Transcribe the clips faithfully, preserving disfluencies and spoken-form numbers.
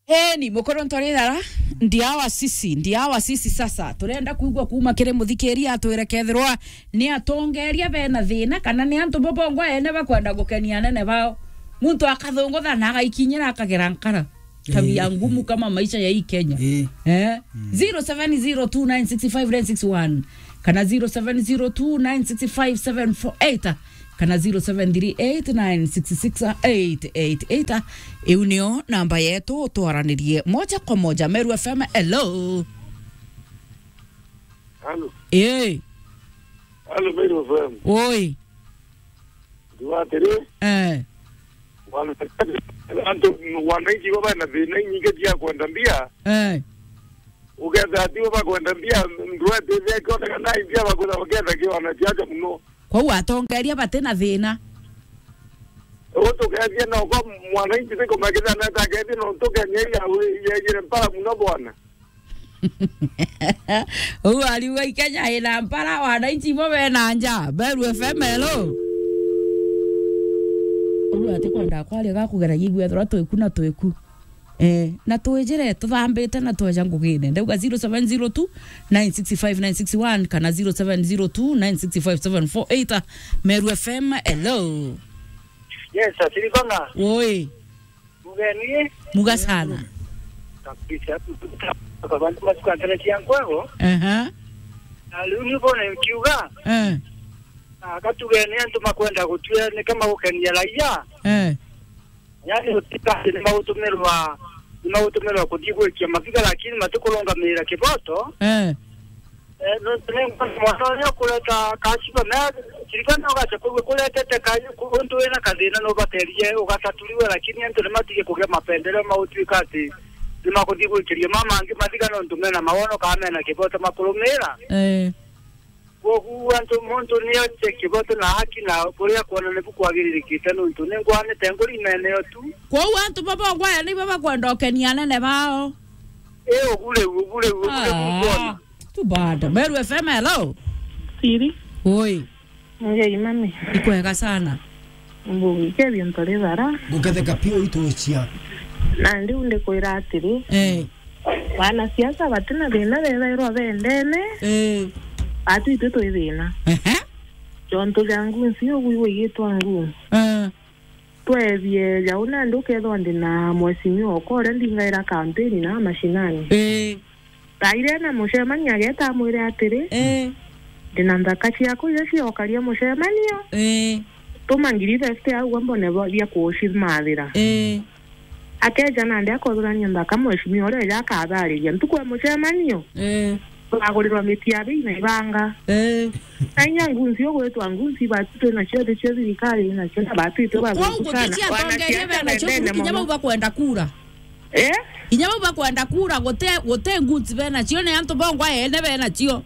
Eni, mukuru ntori thara, ndiawa sisi, ndiawa sisi sasa. Turenda kuigua kuuma kiri muthikiria atwire kethirwa ni atongeria bena thina, kana ni antu bobongwa ene bakwenda gukenia anene bao. Muntu akathungutha na agaikinyira akagera nkara. Tabia Eh, ngumu eh. kama maisha ya hii Kenya. Eh. Eh? Mm. zero seven zero two nine six five nine six one, kana zero seven zero two nine six five seven four eight, kana zero seven three eight nine six six eight eight eight. Iu nio namba yetu, twaranirie moja kwa moja. Meru F M, hello. Halo. Eh. Halo, Meru F M. Oi. Ndiwa atiri, Eh. wana-, antu, wananchi baba na thina inyingi cia kwenda mbia. Eh. Uketha ati baba kwenda mbia, ndwete thia kionekana mbia bakutha baketha kiwana ciacha muno. Kwou atongeria bati na thina. Utukethia no kwa mwananchi tiko makitha na takethia no tukenya ya we, ya yire mpara muno bwana. Uu ariuga i Kenya ina mpara, wananchi bo bena nja. Meru F M, hello. Uu ati kwenda kwaria ga kugera yigua ethirwa twiku na twiku. Eh, na twijire tuthambite na tweja ngugine. Ndauga zero seven zero two nine six five nine six one kana zero seven zero two nine six five seven four eight. Meru F M, hello. Yes, Atirikona. Oi. Mugeni. Muga sana. Kabisa. Kwa bantu matukanganĩtie nkwego. Aha. Na rĩu nĩ bona nkiuga. Eh. Na gatugeni antu makwenda gũtua nĩ kama gũkenia raia. Eh. Yani gũtika nĩ magũtũmĩrwa, nĩ magũtũmĩrwa kũthiĩ gwĩkia mabiga, lakini matikulũngamĩrĩra kĩboto. Eh. Eh, nontu ni mwana uria ukureta kaciba, na ririkana ugacha kugwe kuretete ka-, ku-, untu wina kathina nubaterie ugataturiwe, lakini antu ni matige kugia mapendeleo ma gutuika ati ni makuthii gwikiria ma mangi mathiga nontu mena mawono kana mena kiboto makurumira. Eh. Kwogu antu, muntu ni oche kiboto na haki na kuria kwona nibu kwagiririkite nontu ni ngwanite nguri imeneyo tu. Kwou antu baba ongwaya nibo bakwenda ukenia anene bao. Eh, ugu riu, ugu riu, ugu riu Ah. Too bad. Meru F M, hello. Siri. Oi. Ngei mami. Ikwega sana. Mbungi kebio ntore bara. Guketheka pio itucia. Na ndiu ndikwira atiri. Eh. Wanasiasa batina thina bethairwa bendene. Eh. Atu itwe twi thina. Ehe. Jontu ja ngunsi ugu igwigitwa ngu. Eh. Twethie jau nandi ukethwa ndi na mheshimiwa okwa uria ndingaira kampeni na mashinani. Ii. Taire na mucemania ageta amwire atiri, Ii. Ndi na nthaka ciakwa iria ciokaria mucemanio. Ii. Tuma ngiri fifty au mbone bo-, bia kucimathira. Ii. Akeja nandi akothurania nthaka mheshimiwa uria eja akathariria ntuku ya mucemanio. Ii. Twagurirwa miti ya bei na ibanga. Eh. Na inya ngunzi ugwitwa ngunzi, bati twina cio, thi cio thirikari ina cio, na bati itwe Kwou bathungu sana. Gutici atongeria bena cio, kinya bau bakwenda kura. Eh? Kinya bau bakwenda kura, gute, gute ngunzi bena cio, ni antu bongwa ene bena cio.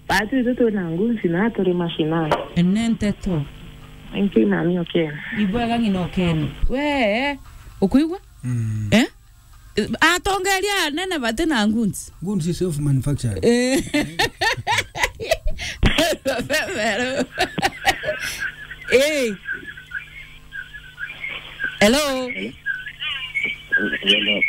Bati itwe twina ngunzi na turi mashinani. Ene nteto. Inki nani okene. Ibwega ng'ina okene. We, ukuigua? Mm. Eh? Atongeria anene bati na ngunzi. Ngunzi self manufactured. Eh. Eh. Hello. Hello.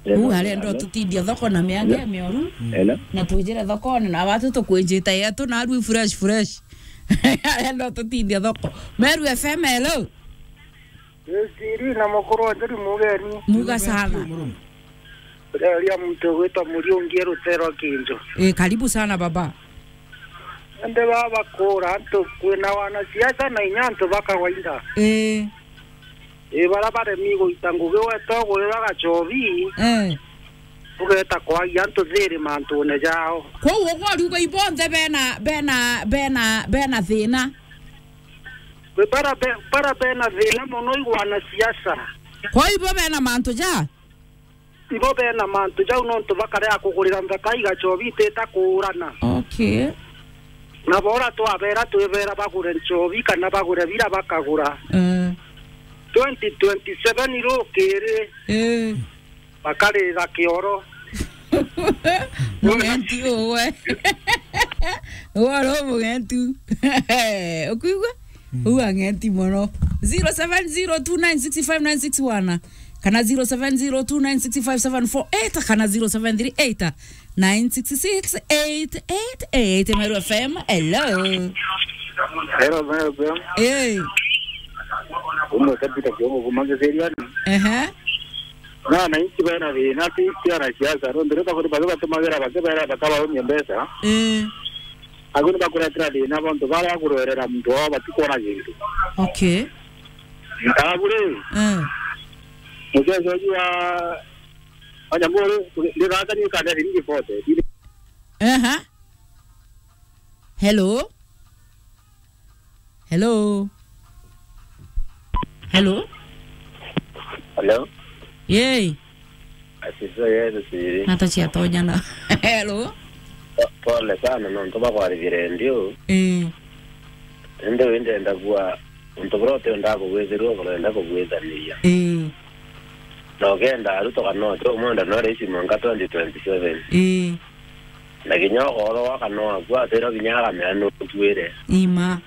Uu arenda ututindie thoko na miange mioru. Hello. Na twijire thokone na watu tukwijita yetu na arui fresh fresh. Arenda ututindie thoko. Meru F M, hello. Siri na mukuru wa Njeri mugeni. Muga sana. Eria muntu ugwitwa Muriungi Rutero Kinjo. Eh, karibu sana baba. Ende baba kura antu kwina wanasiasa na inya antu ba kawaida. Eh. Eh, bara baremi guita ngugi weta ugwira gachobi. Eh. Ugeta kwagia antu thiri mantune jao. Kwou ugwari uga ibonthe bena, bena, bena, bena thina. Kwi bara be-, bara bena thina mono i wanasiasa. Kwa ibo bena mantu ja? Ibo bena mantu jau nontu bakarea kugurira nthaka igachobi itita kuurana. Okay. Na bora twabera twibera bagure nchobi kana bagure bira bakagura. Eh. Twenty twenty-seven irukiri. Eh. Bakarira kioro. Mugenti uwe. Uwe ro mugenti. Ukuigua? Mm. Uwe ang'enti mono. Zero seven zero two nine six five nine six one. kana zero seven zero two nine six five seven four eight, kana zero seven three eight nine six six eight eight eight. Meru F M, hello. Hello, Meru F M. Hey. Umwe kabita kiogo kumangiziriani. Ehe. Na wananchi bena thina ti, ti anasiasa. Nontu riu bakuri bathi batumagira bake bera bakabaumia mbeca. Eh. Agu ni bakuretera thina bontu baria akurwerera muntu wao batikwona gintu. Okay. Ntabu ri. Eh. Muchezo uju wa, wa nyamuri, ndithaka ni kanda ringi bote. Aha. Hello? Hello? Hello? Hello? Yei. Asifiwe Yesu siri. Nata ciatonyana. Hello? Po-, pole sana, nontu bakwarithia redio. Eh. Indi wi ndenda kuga, untu buria uti undaa kugwithirua, burenda kugwithaniria. Eh. Na ukenda aruto kana uti umwenda no raici mwanka twenty twenty-seven. Eh. Na kinya ukoorwa kana wakua, atwirwa kinya akamea nutuire. Ima.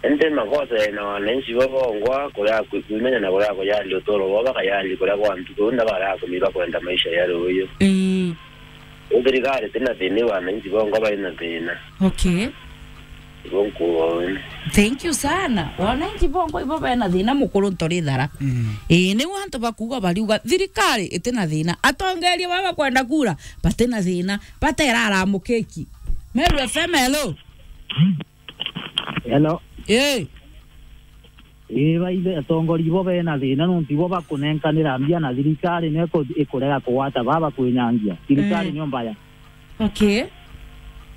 Indi makosa yaina wananchi bo bongwa, kuria ku-, kuimenya na kuria kuyali uturo bwao, bakayali kuria kwa ntuku, na baria kumiba kwenda maisha ya ruuyu. Ii. Uu thirikari tina thina, wananchi bongwa baina thina. Okay. Ibo nkuuga uu. Thank you sana. Wananchi bongwa ibo bena thina, mukuru ntori thara. Mm. Ii, niu antu bakuuga bariuga, thirikari itina thina. Atongeria baba kwenda kura, batina thina. Batera aramukiki. Meru F M, hello. Hello. Eh. Ii, baithe, atongoria ibo bena thina, nontu ibo bakunenkanira mbia na thirikari nio iku-, ikurega kugwata baba kwinyangia. Thirikari Eh. nio mbaya. Okay.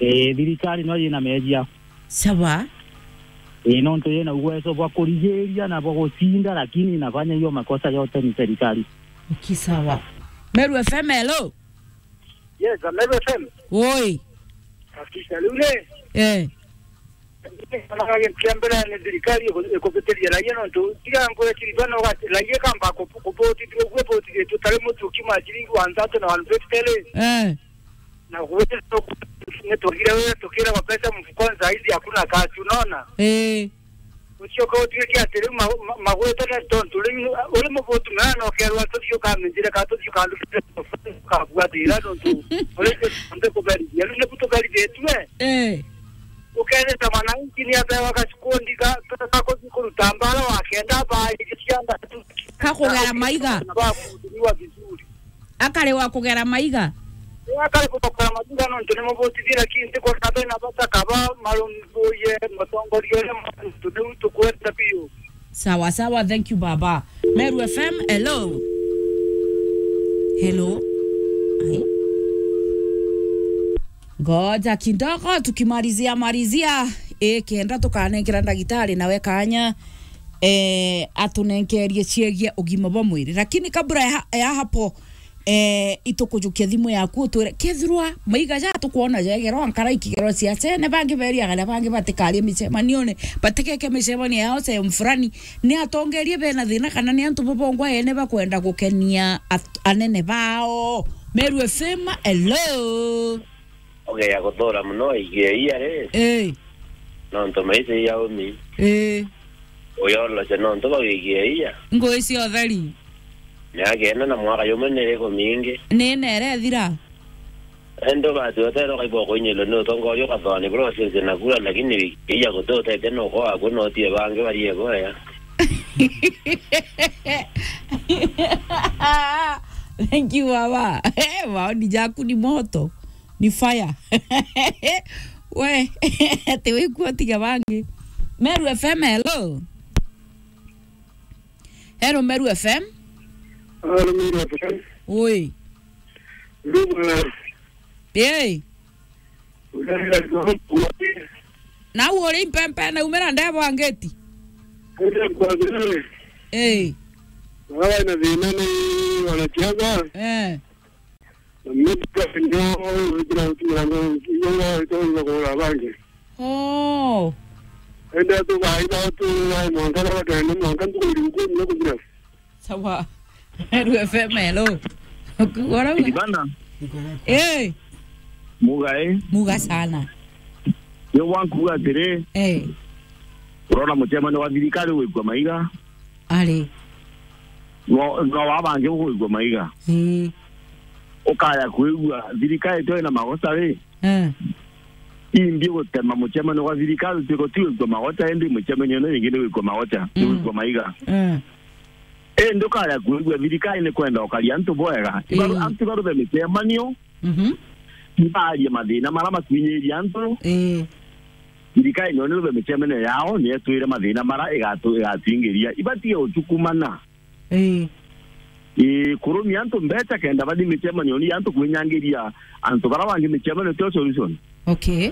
Ii, thirikari nio yina mejia. Sawa. Ii, nontu yina uwezo bwa kurigiria na bwa gucinda, lakini inafanya hiyo makosa yote ni serikali. Okay, sawa. Meru F M, hello. Yes, Meru F M. Woi. Hakika, riu ri, Eh. Kia mbere ni thirikari iku-, ikubitiria raia, nontu tiga nkwe kiriba no gati raia kamba ku-, kubotithua uguo botithitue tari mutu ukiuma ciringi one thirty na one fifty ri. Eh. Na gwita ni twagire wira tukiragwa pesa mfukoni, saa hizi hakuna kazi, unaona? Eh. Ucio ko utwike ati riu ma-, ma-, magwete ni tontu riu uri mubutu mea na ukerwa tuthii ukamenjire ka tuthii ukandukire kabuatira nontu uri nde kuberithia. Riu nibu tuberithitue. Eh. Ukethira mwananchi ni abewa gacikundi ga, ga kuthi kuruta mbara wa kenda bairi cianda tu. Kakugera maiga. Na bakuhudumiwa vizuri. Akari wa kugera maiga. Akari kugera maiga nontu ni mubutithia, lakini ntikwona bena bata kaba marumbuye mutongoria uria mwantu niu tukwenda biu. Sawa sawa, thank you baba. Meru F M, hello. Hello. Ai. Ngoja kidogo tukimalizia malizia. Eh, kenda tukanengera ndagitari nawe kanya, eh, atunenkerie ciegie ugima bwa mwiri. Lakini kabla ya, ya hapo, eh, itukujukia thimu yaku utwire, kethirwa maiga ja tukwona jegerwa nkara ikigerwa ciacene, bangi beriaga na bangi batikarie micemanione, batikeke micemanio yao sehemu fulani, ni atongerie bena thina kana ni antu bobongwa ene bakwenda gukenia at-, anene bao? Meru F M, hello. Ugeya guthura muno igia iya ri. Eh. Nontu maisha iya umi. Eh. Uyoloce nontu bau igia iya. Ngui cia utheri. Miaka ina na mwaka yumwe ni iriku mingi. Ni ina irethira. Indi bati utero kaibwa kuinyilwa ni utongoria ukathoni buria ucinci na kura, lakini igia guti utete nuko waku no tie bangi barie boya. Thank you, baba. Eh, maoni jaku ni moto. Ni fire. We, ati wikua tiga bangi. Meru F M, hello. Hello, Meru F M. Hello, Meru F M. Oi. Ndugu, eh. Hey. Nau uri mpempe na umira ndebo angeti. Ndio kwa vile. Eh. Baba na thina ni wanasiasa. Eh. Na mimi pia ndio, ndio, ndio, ndio, ndio, ndio, ndio, bangi. Oh. Ende tu baida tu, mwanka na watu, mwanka tu, ndio, ndio, ndio. Sawa. Meru F M, hello. Ukigora we. Kibanda. Eh. Muga, eh? Muga sana. Yo wankuga atiri. Eh. Urona mucemani wa thirikari wikua maiga. Ari. No, no wa bangi gukuigua maiga. Ii. Ukaya kwigua thirikari tio ina magoca ri? Eh. Imbi gutema mucemanio gwa thirikari, tiko ti gwikua magoca, indi mucemanio ni ingi ni gwikua magoca, ni Mm. gwikua maiga. Eh. Indi ukaya kwigua thirikari ni kwenda ukaria antu bwega. Ibaru-, Ii. antu barube micemanio, Mhm. ibarie mathina mara makwinyiria antu. Ii. Thirikari nyo ni rube micemanio yao, ni etwire mathina mara igatu-, igatuingiria. Ibatige ucukumana. Ii. Ii, kurumia antu mbeca kenda bathi micemanio ni antu kwinyangiria antu bara bangi micemanio tio solution. Okay.